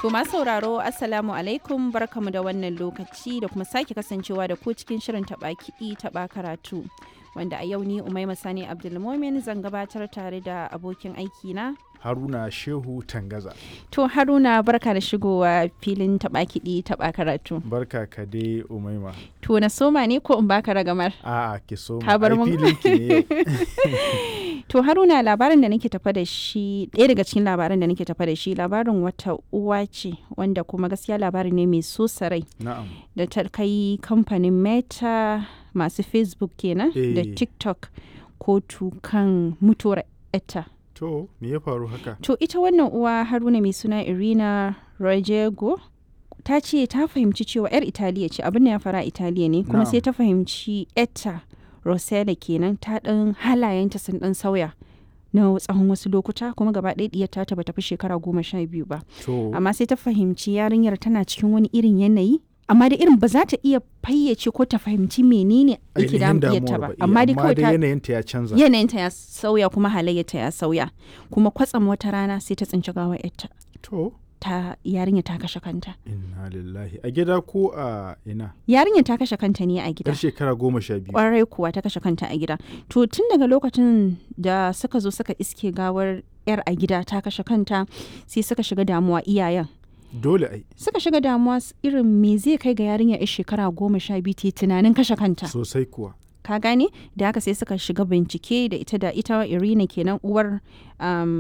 To masu sauraro, Assalamu alaikum, barkamu da wannan lokaci da kuma sake kasancewa da ku cikin shirin taɓa kiɗi taɓa karatu. Wanda a yau ni Umaima Sani Abdulmomin zan gabatar tare da abokin aiki na Haruna Shehu Tangaza. To Haruna, barka da shigowa filin taɓa kiɗi taɓa karatu. Barka ka dai, Umaima. To na soma ne ko in baka ragamar? A'a, ki so Ka bar mun. Filin ki ne yau. To Haruna, labarin da nake tafa da shi, ɗaya daga cikin labaran da nake tafa da shi, labarin wata uwa ce wanda kuma gaskiya labari ne mai so sarai da ta kai kamfanin Meta, masu Facebook kenan, da TikTok kotu kan mutuwar etta. To me ya faru haka? To ita wannan uwa, Haruna, mai suna Irina Rojego, ta ce ta fahimci cewa 'yar Italiya ce, abin da ya fara Italiya ne, kuma sai ta fahimci etta Rosella kenan ta ɗan halayenta sun ɗan sauya na tsawon wasu lokuta, kuma gaba ɗaya ɗiyar ta bata fi shekara 12 ba. Amma sai ta fahimci yarinyar tana cikin wani irin yanayi, amma da irin ba za ta iya fayyace ko ta fahimci menene yake Ainihin damun diyarta damuwar ba. Amma Amma dai kawai dai ta yanayinta ya canza. yanayinta ya sauya kuma halayyarta ya sauya, kuma kwatsam wata rana sai ta tsinci gawar yarta. To Ta yarinya ta kashe kanta. Inna lillahi, a gida ko a ina? Yarinya ta kashe kanta ne a gida. Yar shekara 12. Kwarai kuwa, ta kashe kanta a gida. To tun daga lokacin da suka zo suka iske gawar yar a gida ta kashe kanta, sai suka shiga damuwa, iyayen. Dole ai. Suka shiga damuwa irin me zai kai ga yarinya yar shekara 12 ta yi tunanin kashe kanta? Sosai kuwa. Ka gane? Da haka sai suka shiga bincike da ita Irina kenan, uwar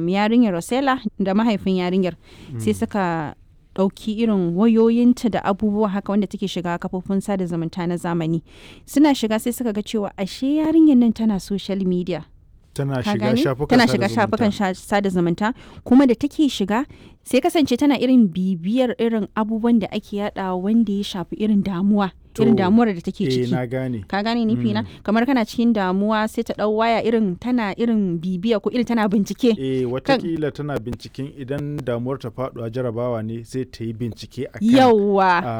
yarinyar Rosella, da mahaifin yarinyar. Sai suka ɗauki irin wayoyinta da abubuwa haka wanda take shiga kafofin sada zumunta na zamani. Suna shiga sai suka ga cewa ashe yarinyar nan tana social media. Tana Ka shiga gane? shafukan Tana sada shiga zumunta. shafukan sada zumunta, kuma da take shiga sai kasance tana irin bibiyar irin abubuwan da ake yada wanda ya shafi irin damuwa, irin To, damuwar da take ciki. Na gane. Ka gane nufi na? Kamar kana cikin damuwa, sai ta dau waya, irin tana irin bibiya ko irin tana bincike. Watakila tana binciken idan damuwar ta faduwa jarabawa ne, sai ta yi bincike akan Yawwa. a